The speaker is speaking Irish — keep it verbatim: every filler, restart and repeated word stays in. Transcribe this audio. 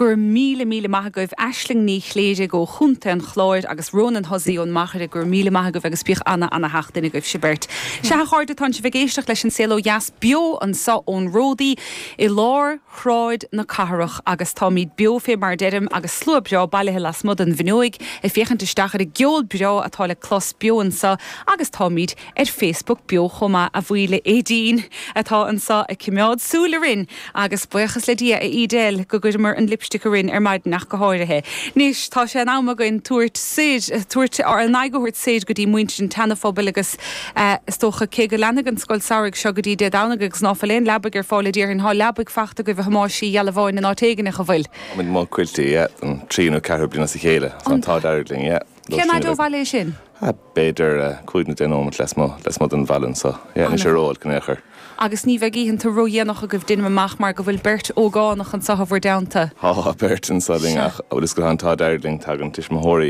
Go raibh míle míle maith agaibh Aisling Ní Chléirigh ó Chontae an Chláir agus Ronan Hussey ón Machaire go raibh míle maith agaibh agus bíodh ana ana-sheachtain agaibh sibh beirt. Sea a chairde tá sibh ag éisteacht leis an Saol Ó Dheas beo anseo ón Ródaí i lár Shráid na Cathrach agus táimid beo fé mar deirim agus slua breá bailithe lasmuigh den bhfuinneog ag féachaint isteach ar an gceol breá atá le clos beo anseo agus táimid ar Facebook beo chomh maith a bhuí le Aideen atá anseo ag coimeád súil orainn agus buíochas le Dia a Edel go gcuireamar an lipstick orainn ar maidin ach go háirithe. Anois tá sé in am againn tabhairt soir tabhairt ar an aghaidh thabhairt soir go dtí muintir an tSeana-Phobail agus uh, is dócha cé go leanfaidh an scoil samhraidh seo go dtí Dé Domhnaigh agus ná fuil aon leabaidh ar fáil déarfainn tá leabaidh fachta agaibh a Thomáis Uí Ghealbháin in áit éigin an bhfuil. Má cuiltí an trí nó ceathair bliana as a chéile an t-ádh dearg linn. Cén fhad ó bhaile sin? B'fhéidir cúig nó deich nóiméad lasmuigh lasmuigh den bhaile anseo ní sé rófhada in aon chor. Agus ní bheidh oícheanta ródhéanach agaibh déanaim amach mar go bhfuil beirt ógánach anseo i bhur dteannta. Tá beirt anseo linn ach bhfuil go an t-ádh dearg linn tagann tuismitheoirí